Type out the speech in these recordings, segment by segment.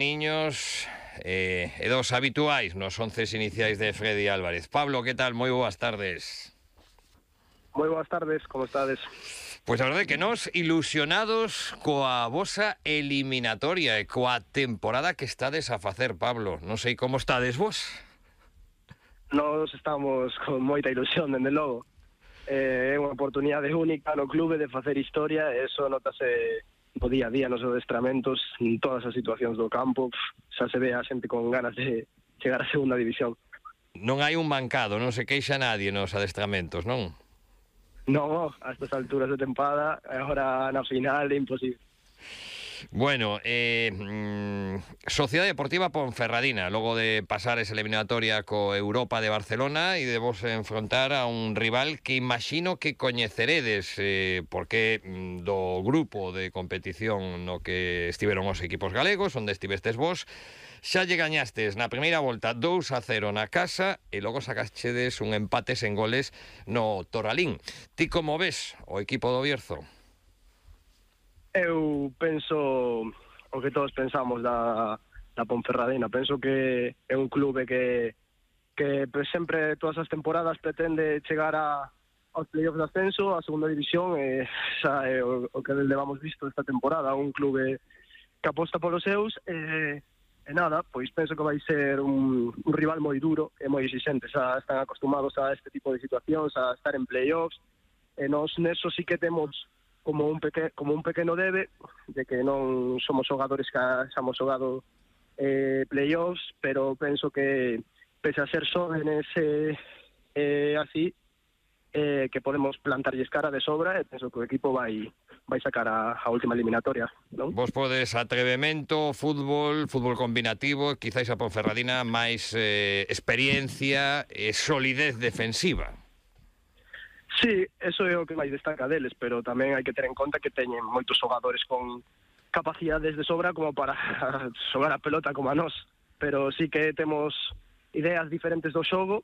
Niños e dos habituais nos 11 iniciais de Freddy Álvarez. Pablo, que tal? Moi boas tardes. Moi boas tardes, como estades? Pois a verdade que nós ilusionados coa vosa eliminatoria e coa temporada que estades a facer, Pablo. Non sei como estades vos. Nós estamos con moita ilusión, dende logo. É unha oportunidade única no clube de facer historia e eso notase no día a día nos adestramentos, en todas as situacións do campo. Xa se ve a xente con ganas de chegar á segunda división. Non hai un mancado, non se queixa nadie nos adestramentos, non? Non, a estas alturas de tempada, agora na final é imposible. Bueno, Sociedade Deportiva Ponferradina, logo de pasar esa eliminatoria co Europa de Barcelona e de vos enfrontar a un rival que imagino que coñeceredes, porque do grupo de competición no que estiveron os equipos galegos, onde estivestes vos, xa lle gañastes na primeira volta 2-0 na casa e logo sacastedes un empate sen goles no Toralín. Ti como ves o equipo do Bierzo? Eu penso o que todos pensamos da Ponferradina. Penso que é un clube que sempre, todas as temporadas, pretende chegar aos playoffs de ascenso, a segunda división, e xa é o que levamos visto esta temporada. Un clube que aposta polos seus, e nada, pois penso que vai ser un rival moi duro e moi exigente. Xa están acostumados a este tipo de situacións, a estar en playoffs, e nós neso sí que temos como un pequeno debe, de que non somos xogadores que xamos xogado playoffs, pero penso que pese a ser xóvenes así, que podemos plantarlles cara de sobra, e penso que o equipo vai sacar a última eliminatoria, non? Vos podes atrevemento, fútbol combinativo, quizáis a Ponferradina máis experiencia e solidez defensiva. Sí, eso é o que máis destaca deles, pero tamén hai que ter en conta que teñen moitos xogadores con capacidades de sobra como para xogar a pelota como a nós, pero sí que temos ideas diferentes do xogo,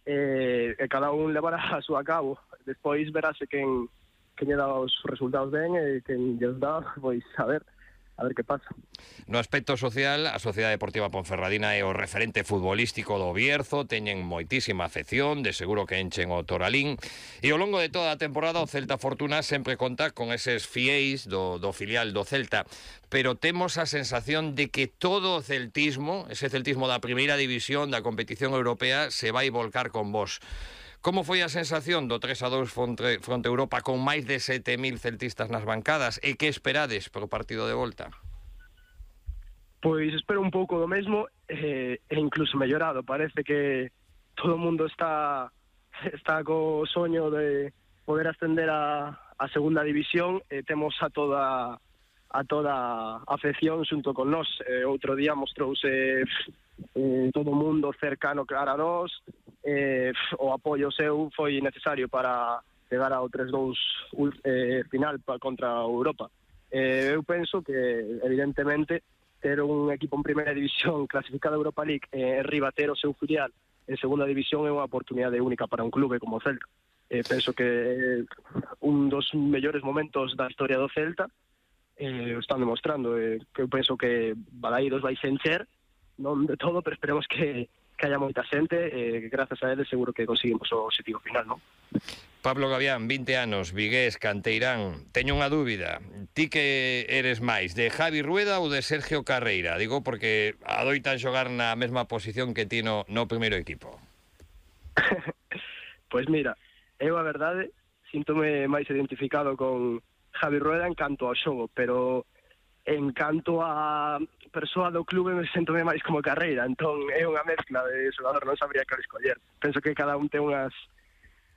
e cada un levará a súa cabo. Despois verase quen lle dá os resultados ben e quen lles dá, pois a ver que pasa. No aspecto social, a Sociedade Deportiva Ponferradina é o referente futbolístico do Bierzo, teñen moitísima afección, de seguro que enchen o Toralín, e ao longo de toda a temporada o Celta Fortuna sempre conta con eses fiéis do filial do Celta, pero temos a sensación de que todo o celtismo, ese celtismo da primeira división da competición europea, se vai volcar con vos. Como foi a sensación do 3-2 fronte Europa con máis de 7.000 celtistas nas bancadas? E que esperades para o partido de volta? Pois espero un pouco do mesmo, e incluso mellorado. Parece que todo o mundo está co soño de poder ascender a segunda división, e temos a toda a afección xunto con nós. Outro día mostrouse todo o mundo cercano cara a nós, o apoio seu foi necesario para chegar ao 3-2 final contra a Europa. Eu penso que, evidentemente, ter un equipo en primeira división clasificado a Europa League e riba ter o seu filial en segunda división é unha oportunidade única para un clube como o Celta. Penso que é un dos mellores momentos da historia do Celta, o están demostrando, que eu penso que Balaídos vai se encher, non de todo, pero esperemos que haya moita xente, grazas a eles seguro que conseguimos o objetivo final, non? Pablo Gavián, 20 anos, vigués, canteirán. Teño unha dúbida. Ti que eres máis, de Javi Rueda ou de Sergio Carreira? Digo porque adoitan xogar na mesma posición que ti no primeiro equipo. Pois mira, eu a verdade síntome máis identificado con Javi Rueda en canto ao xogo, pero en canto a persoa do clube me sentome máis como Carreira, entón é unha mezcla de xogador, non sabría que escoller. Penso que cada un ten unhas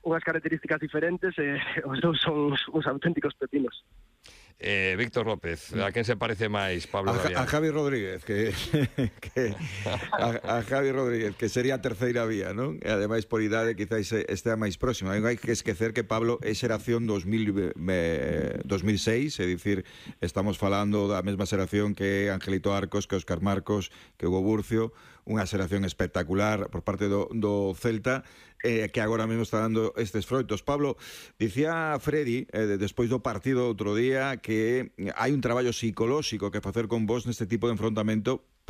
características diferentes, e os dous son uns auténticos pepinos. Víctor López, a quen se parece máis, Pablo Gavián? A Javi Rodríguez, a Javi Rodríguez, que sería a terceira vía, non? E ademais por idade quizás estea máis próximo. Hai que esquecer que Pablo é xeración 2006, é dicir, estamos falando da mesma xeración que Angelito Arcos, que Óscar Marcos, que Hugo Burcio, unha xeración espectacular por parte do Celta, que agora mesmo está dando estes froitos. Pablo, dicía Freddy, despois do partido outro día, que hai un traballo psicolóxico que facer con vos neste tipo de enfrontamento,